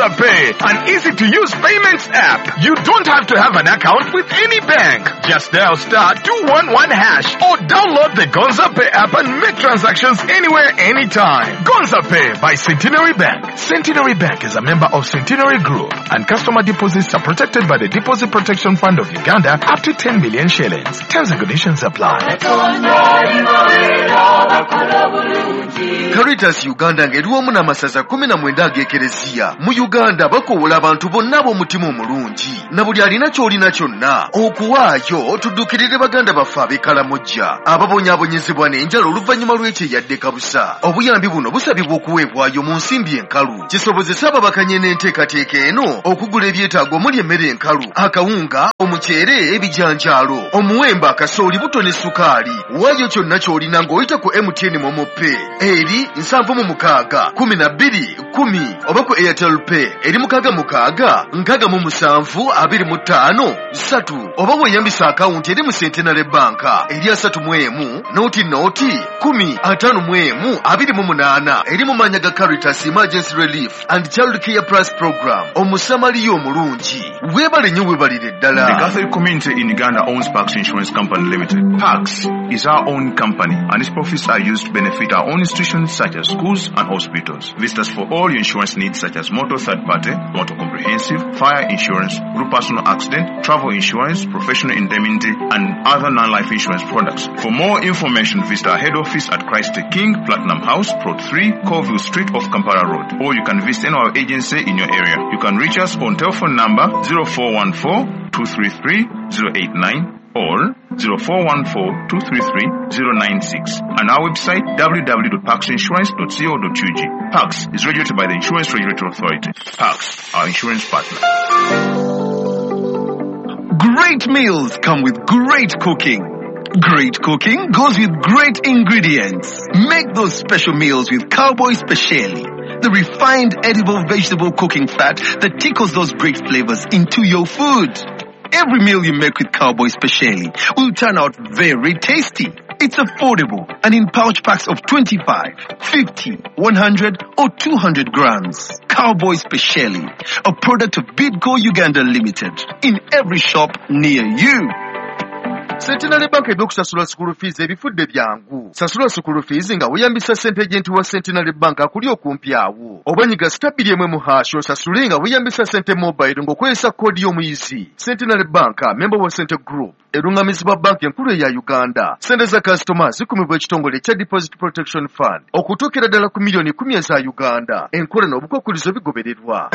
Gonza Pay, an easy-to-use payments app. You don't have to have an account with any bank. Just dial *211# or download the Gonza Pay app and make transactions anywhere, anytime. Gonza Pay by Centenary Bank. Centenary Bank is a member of Centenary Group, and customer deposits are protected by the Deposit Protection Fund of Uganda up to 10 million shillings. Terms and conditions apply. Caritas Uganda ng'eri wamu n'amasaza 19 ag'ekereziya mu Uganda bakoowola abantu bonna ab'omutima omulungi na buli alina ky'olina kyonna okuwaayo tuddukirire baganda baffe ab'e Kalamojja ababonyaabonyezebwa n'enjala oluvannyuma lw'ekyeyadde kabusa. Obuyambi buno busabibwa okuweebwayo mu nsimbi enkalu kisobozese ababakanye n'enteekateeka eno okugula ebyetaago omuli emmere enkalu, akawunga, omuceere, ebijanjaalo, omuwemba, akasooli, buto ne sukaali. Waayo kyonna ky'olina ng'oyita ku MTN MoMo Pay eri 76 12 10 oba ku Airtel Pay eri 66 67 25 3 oba weeyambisa akawunti eri mu Centenary Bank eri 31 0 0 10 51 28 eri mu mannya ga Caritas Emergency Relief and Child Care Plus Program. Omusamaliya omulungi weebale nnyo, weebalire ddala. The Catholic community in Uganda owns Pax Insurance Company Limited. Pax is our own company and its profits are used to benefit our own institutions such as schools and hospitals. Visit us for all your insurance needs such as motor third party, motor comprehensive, fire insurance, group personal accident, travel insurance, professional indemnity, and other non-life insurance products. For more information, visit our head office at Christ the King, Platinum House, Plot 3, Colville Street off Kampala Road. Or you can visit any of our agency in your area. You can reach us on telephone number 0414 233 089 or 0414 233 096 and our website www.paxinsurance.co.ug. Pax is regulated by the Insurance Regulatory Authority. Pax, our insurance partner. Great meals come with great cooking. Great cooking goes with great ingredients. Make those special meals with Cowboy Speciali, the refined edible vegetable cooking fat that tickles those great flavors into your food. Every meal you make with Cowboy Speciali will turn out very tasty. It's affordable and in pouch packs of 25, 50, 100 or 200 grams. Cowboy Speciali, a product of Bidco Uganda Limited, in every shop near you. Centenary Bank ebyokusasula school fees ebifudde byangu. Sasula school fees nga weeyambisa ssente agent wa Centenary Bank akuli okumpi awo. Oba nyiga *2 1# osasule nga weeyambisa ssente mobile ng'okozesa koodi y'omuyizi. Centenary Bank, member wa Sente Group, erungamizibwa banka enkulu eya Uganda. Ssente za kasitoma zikumibwa ekitongole ekya Deposit Protection Fund okutuukira ddala ku miliyoni 10 eza Uganda. Enkola n'obukwakkulizo bigobererwa.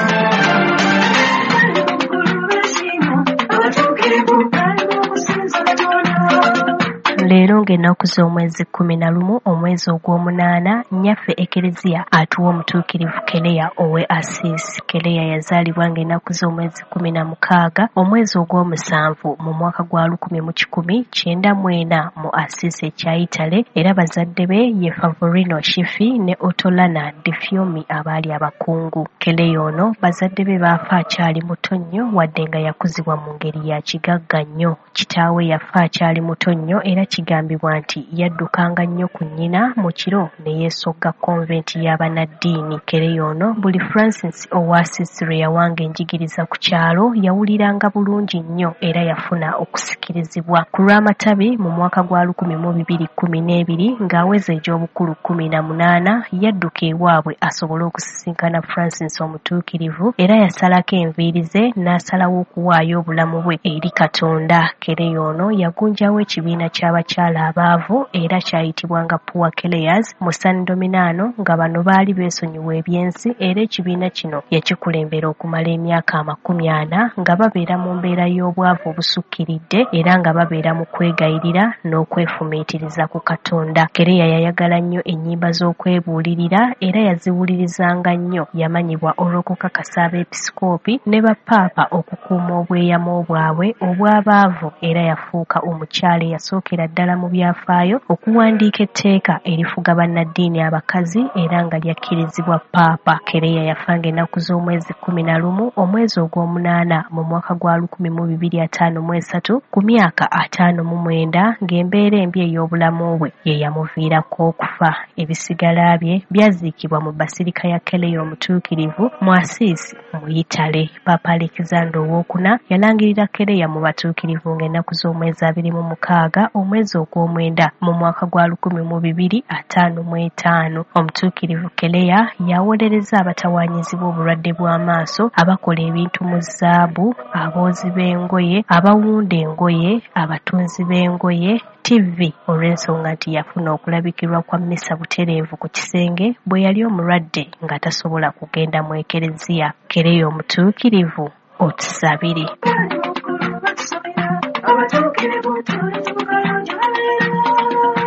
Leero ng'ennaku z'omwezi 11 omwezi ogw'omunaana, nnyaffe Ekereziya atuwa omutuukirivu Kereya ow'e Assisi. Kereya yazaalibwa ng'ennaku z'omwezi 16 omwezi ogw'omusanvu mu mwaka gwa 1194 mu Assisi ekya Italy, era bazadde be ye Favorino Shifi ne Otolana De Fiumi abaali abakungu. Kereya ono bazadde be baafa akyali muto nnyo, wadde nga yakuzibwa mu ngeri ya kigagga nnyo. Kitaawe yafa akyali muto nnyo era kigambibwa nti yaddukanga nnyo ku nnyina mu kiro ne yeesogga konventi y'abannaddiini. Kereya ono buli Francis owa Assisi lwe yawanga enjigiriza ku kyalo yawuliranga bulungi nnyo era yafuna okusikirizibwa. Ku lw'amatabi mu mwaka gwa 2012 ng'aweza egy'obukulu 18 yadduka ewaabwe asobole okusisinkana Francis omutuukirivu, era yasalako enviiri ze n'asalawo okuwaayo obulamu bwe eri Katonda. Kereya ono yagunjawo ekibiina ky'abakyala abaavu era kyayitibwanga Poor Clares mu San Dominano, nga bano baali beesonyiwa ebyensi, era ekibiina kino yakikulembera okumala emyaka 40 nga babeera mu mbeera y'obwavu obusukkiridde era nga babeera mu kwegayirira n'okwefumiitiriza ku Katonda. Kereya yayagala nnyo ennyimba z'okwebuulirira era yaziwulirizanga nnyo. Yamanyibwa olw'okukakasa abeepisikoopi ne bapaapa okukuuma obweyamo bwabwe obw'abaavu, era yafuuka omukyala eyasookera ddala mu byafaayo okuwandiika etteeka erifuga bannaddiini abakazi era nga lyakkirizibwa Paapa. Kereya yafa ng'ennaku z'omwezi 11 omwezi ogw'omunaana mu mwaka gwa 1253 ku myaka 59 ng'embeera embi ey'obulamu bwe ye yamuviirako okufa. Ebisigala bye byaziikibwa mu Basirika ya Kereya Omutuukirivu mu Asiisi mu Yitale. Paapa Alexander Owokuna yalangirira Kereya mu batuukirivu ng'ennaku z'omwezi 26 omwezi ogw'omwenda mu mwaka gwa 1255. Omutuukirivu Kereya yawolereza abatawaanyizibwa obulwadde bw'amaaso, abakola ebintu mu zaabu, aboozi b'engoye, abawunda engoye, abatunzi b'engoye, TV olw'ensonga nti yafuna okulabikirwa kwa mmisa butereevu ku kisenge bwe yali omulwadde nga tasobola kugenda mu ekereziya. Kereya Omutuukirivu, otusabire.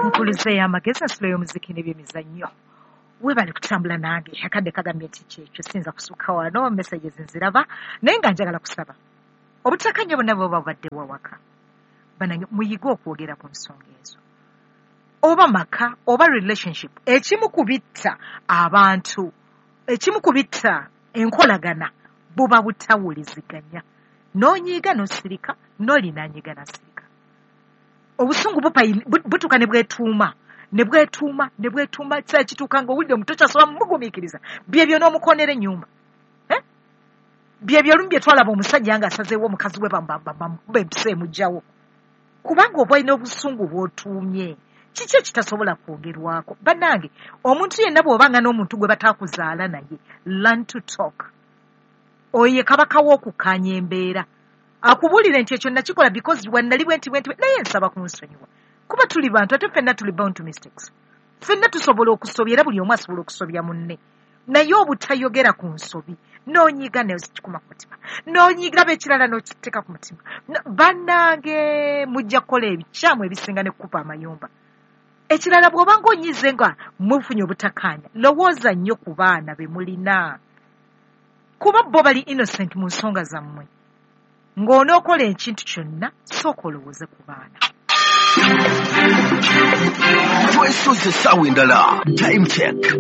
Nkulize y'amagezi ensula y'omuziki n'ebyemizannyo. Webale kutambula nange, akadde kagambye nti kyekyo siyinza kusukka wano, messages nziraba naye nga njagala kusaba obutakanya bonna bwe bubadde wawaka. Banange muyige okwogera ku nsonga ezo, oba maka oba relationship. Ekimu ku bitta abantu, ekimu ku bitta enkolagana buba butawuliziganya. N'onyiiga n'osirika, n'olinanyiiga n'asirika. Obusungu butuuka ne bwetuuma ne bwetuuma ne bwetuuma, kiseera kituuka ng'owulidde omuntu tokyasobola mumugumiikiriza. Byebyo n'omukoonera ennyumba. Byebyo olumu bye twalaba omusajja ng'asazeewo omukazi we bamukuba empisa emugjawo, kubanga oba olina obusungu bw'otuumye. Kiki ekitasobola kwogerwako? Bannange, omuntu yenna bw'obanga n'omuntu gwe bataakuzaala naye, learn to talk. Oyo ye kabaka w'okukkaanya embeera. Akubuulire nti ekyo nakikola because wannali bwe nti bwe nti, naye nsaba kunsonyiwa. Kuba tuli bantu ate ffenna tuli bound to mistakes. Ffenna tusobola okusobya era buli omu asobola okusobya munne. Naye obutayogera ku nsobi, n'onyiiga n'okikuma ku mutima, n'onyiiga ekirala n'okiteeka ku mutima. Bannange mujja kukola ebikyamu ebisinga ne kukuba amayumba. Ekirala bw'oba ng'onyiize nga mufunye obutakkaanya, lowooza nnyo ku baana be mulina. Kuba bo bali innocent mu nsonga zammwe. Ng'onookola ekintu kyonna, sooka olowooze ku baana. Twesoze essaawa endala. Time check.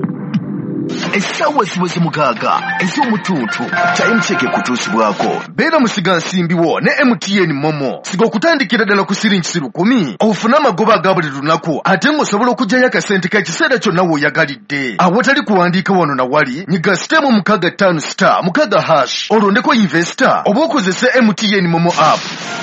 Essaawa ziweze 6 ez'omutuntu. Time check ekutuusibwako. Beera musigansimbi wo ne MTN Momo. Siga okutandikira ddala ku siringi 1,000. Ofune amagoba aga buli lunaku ate ng'osobola okuggyayo akasente k'ekiseera kyonna w'oyagalidde. Awatali kuwandiika wano na wali, nyiga *656*6# olondeko investor oba okozese MTN Momo app.